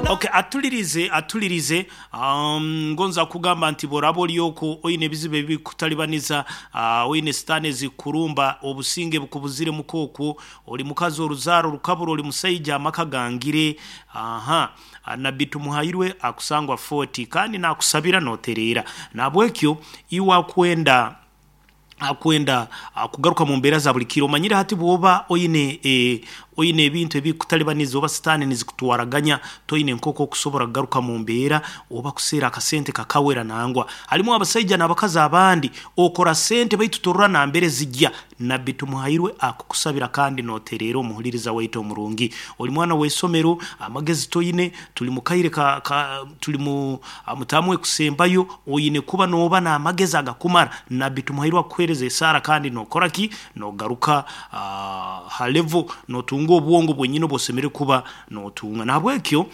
Okay, atulirize atulirize ngonza kugamba nti bworaba ori okwo oine ebizibu ebikutalibaniza oine sitaani ezikurumba obusinge bukubuziremu okwo ori mukazi oruzaaro rukabura ori musaija amaka gangire aha Nabbi Tumuhairwe akusangwa Fort kandi nakusabira notereera nahabwekyo iwe akwenda akwenda kugaruka mu mbeera za buri kiro. Omanyire hati bw'oba oine oine ebintu ebikukutalibaniza oba sitaane nizikutwaraganya, toine nk'oku okusobora kugaruka mu mbeera oba kuseera akasente kakawera nangwa. Harimu abasaija n'abakazi abandi okora sente baitu torora nambere zigya. Nabbi Tumuhairwe akukusabira kandi notereera omuhuririza waitu omurungi. Ori mwana w'eisomero, amagezi toine, turi mu kaire ka ka turi mu mutaamu ekusembayo, oine kuba nooba n'amagezi agakumara. Nabbi Tumuhairwe akukuheereza esaara kandi nookora ki? Noogaruka ha level, nootunga obwongo bwenyini obu osemeriire kuba nootunga. Nahabwekyo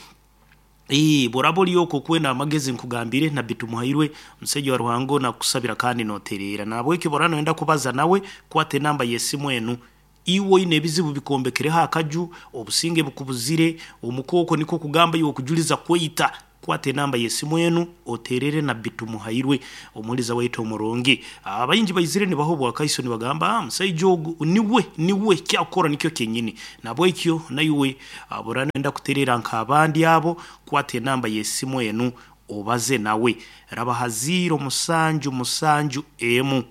bworaba ori okwo okwenda amagezi nkugambire, Nabbi Tumuhairwe omusaija wa Ruhanga onu akukusabira kandi nootereera. Nahabwekyo bworaba nooyenda kubaza nawe, kwata enamba y'esimu enu. Iwe oine ebizibu bikwombekereho akaju, obusinge bukubuzire, omuka okwo nikwo kugamba iwe okujuriza kweita, kwata enamba y'esimu enu oteerere Nabbi Tumuhairwe, omuhuriza waitu omurungi. Abaingi baizire nibaha obwakaiso nibagamba, Ah, musaija ogu niwe, niwe, eki akukora nikyo kyenyini. Nahabwekyo naiwe bworaba noyenda kutereera nk'abandi abo, kwata enamba y'esimu enu obaze nawe. Raba ha ziiro musanju musanju emu.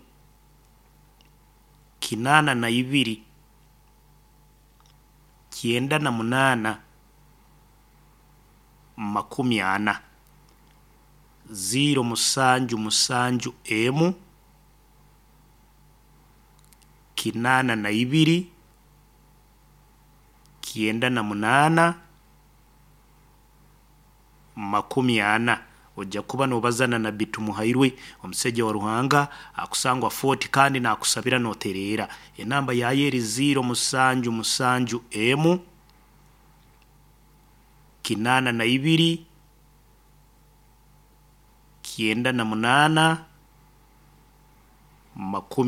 82, 98, 40, ziiro musanju musanju emu, 82, 98, 40. Oija kuba noobaza na Nabbi Tumuhairwe, omusaija wa Ruhanga, akusangwa Fort kandi naakusabira nootereera. Enamba yaayo eri ziiro musanju musanju emu, 82, 98, 40.